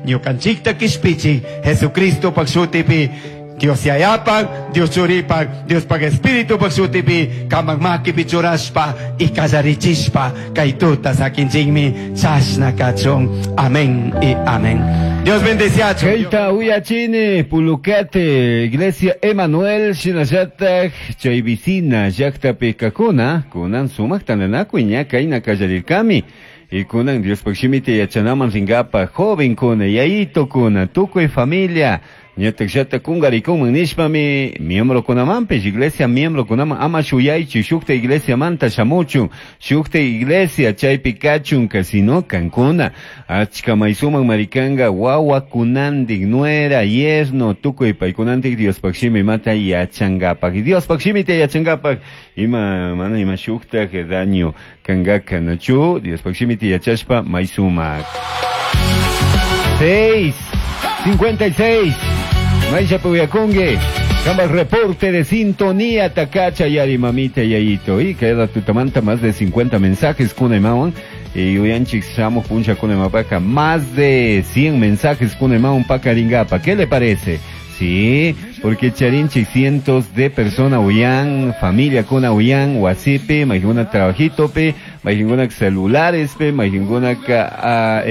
Ñukanchikta kishpichi Jesucristopak shutipi Dios Yayapak, Dios Churipak, Diospak Espiritupak shutipi kamak makipi churashpa y kallarichispa kay tuta sakinchikmi chashna kachun. Amén y amén. Dios bendeciachu. Keita uyachini Pulucate, Iglesia Emanuel, shinallatak chay vicina llaktapi kakuna, kunan sumak tantanakuy ña kayna kallarirkami. Y kunan Diospaj shimita yachanaman ringapa jovenkuna, yayitokuna, tukuy familia, ñatak llata kungarikuman nishpami miembrokunamanpish, iglesia miembrokunaman ama shuyaychu shukta iglesiamanta shamuchun, shukta iglesia chaypi kachunka, sino kankuna, achka maysuman marikanga wawakunantik, nuera, yerno, tukuy paykunantik Diospaj shimimata yachankapak. Y Diospaj shimita yachankapak, ima mana ima shuktak daño kankaka, nachu, Diospaj shimita yachashpa maysumak. 6:56. Maisha Puyakungue. Kama reporte de sintonía, Takacha, Yari, mamita, Yayito. Y queda tutamanta más de 50 mensajes, Kuna y Mawan. Y Uyanchik, Shamo, Puncha, Kuna y Mapaca. Más de 100 mensajes, Kuna y Mawan, Pacaringapa. ¿Qué le parece? Sí, porque charinchik cientos de personas uyan, familia kuna uyan, wasipi, majinguna trabajito pe, majinguna celulares pe, majinguna ka,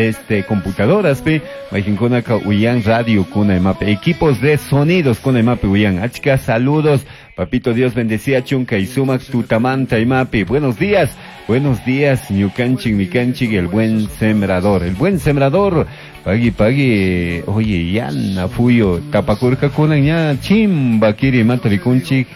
computadoras pe, majinguna ka uyan radio kuna mape, equipos de sonidos kuna mape uyan. Achka, saludos, papito Dios bendecía chunka y sumac tutamanta y mapi. Buenos días, buenos días, ñukanchik, mikanchik, el buen sembrador, el buen sembrador. Pagui, pagui, oye, yana, fuyo, tapacurca kunan ya, chimba, kiri, matrikunchik,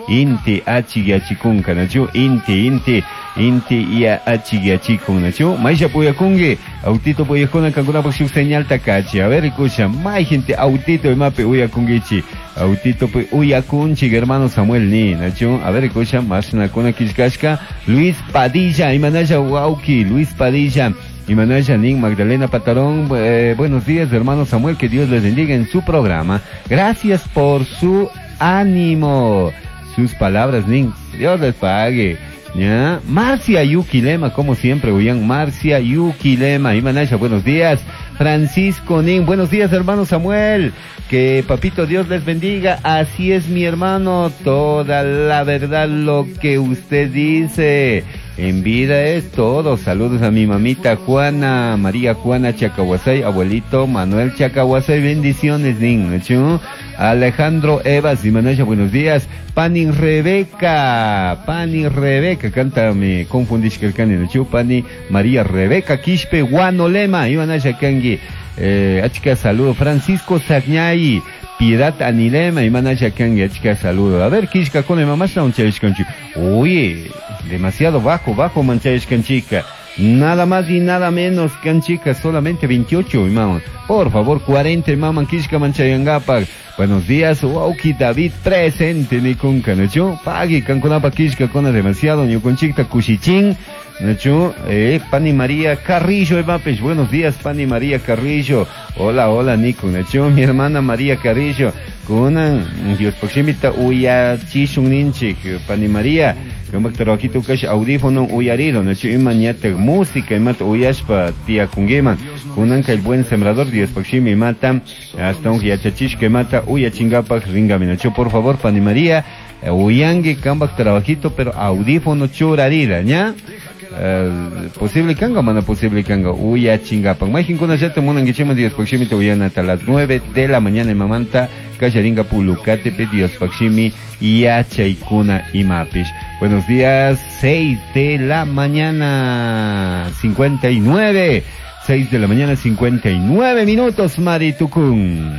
inti, achi, yachikunka, nachu, inti, inti, inti, ya, achi, yachikun, nachu, maisha puyakungi, autito puyakuna, kankuna, pak, señal takachi, a ver, escucha, may gente, autito, mape, uyakungichi, autito, pu, uyakunchi, hermano Samuel, ni, nachu, a ver, escucha, más nakuna, kishkashka, Luis Padilla, imanaya, wauki, Luis Padilla, y Manuel Janín, Magdalena Patarón, buenos días, hermano Samuel, que Dios les bendiga en su programa. Gracias por su ánimo, sus palabras, Nin, Dios les pague. ¿Ya? Marcia Yuquilema, como siempre, Uyan, Marcia Yuquilema. Y Manasha, buenos días. Francisco Nin, buenos días, hermano Samuel. Que papito Dios les bendiga. Así es, mi hermano, toda la verdad lo que usted dice. En vida es todo. Saludos a mi mamita Juana, María Juana Chacahuasay, abuelito Manuel Chacahuasay, bendiciones, Nin. ¿Chu? Alejandro Evas y Manasha, buenos días. Pani Rebeca, Pani Rebeca, cántame, confundís que el cani, ¿chu? Pani María Rebeca Quispe, Guanolema, y Manasha Kangi. Achka, saludo. Francisco Sagñay, Piedad Anilema, y Manasha Kangi, achka, saludo. A ver, Kishka, con mamá, oye, demasiado bajo, bajo manchayashkanchika. Nada más y nada menos, canchica, solamente 28, imam. Por favor, 40, imam, Kishka manchayangapak. Buenos días, Wauki David presente, ni con canacho. Pagui, canconapa, Kishka, con demasiado, ni con chica, cuchichín. Nacho, Pani María Carrillo, Evapes, buenos días, Pani María Carrillo. Hola, hola, Nico, Nacho, mi hermana María Carrillo. Kunan, Dios proximita, uya, chishun ninchik, Pani María. Como trabajito kash audífono uyarido, Nacho, imañate música, imat uyashpa, tía kungeman. Kunan el buen sembrador, Dios proximi mata, hasta un yachachish que mata, uya chingapak, ringame, Nacho, por favor, Pani María, uyangue, kambak trabajito, pero audífono churarida, ¿ya? Posible kanga, mana posible kanga, uya chingapan. Majin kuna yata munan gichema Dios pakshimi te uyana hasta las 9 de la mañana en Mamanta, Kallaringa Pulucate, Dios pakshimi, yachaykuna imapish. Buenos días, 6 de la mañana, 59. 6 de la mañana, 59 minutos, Maritucún.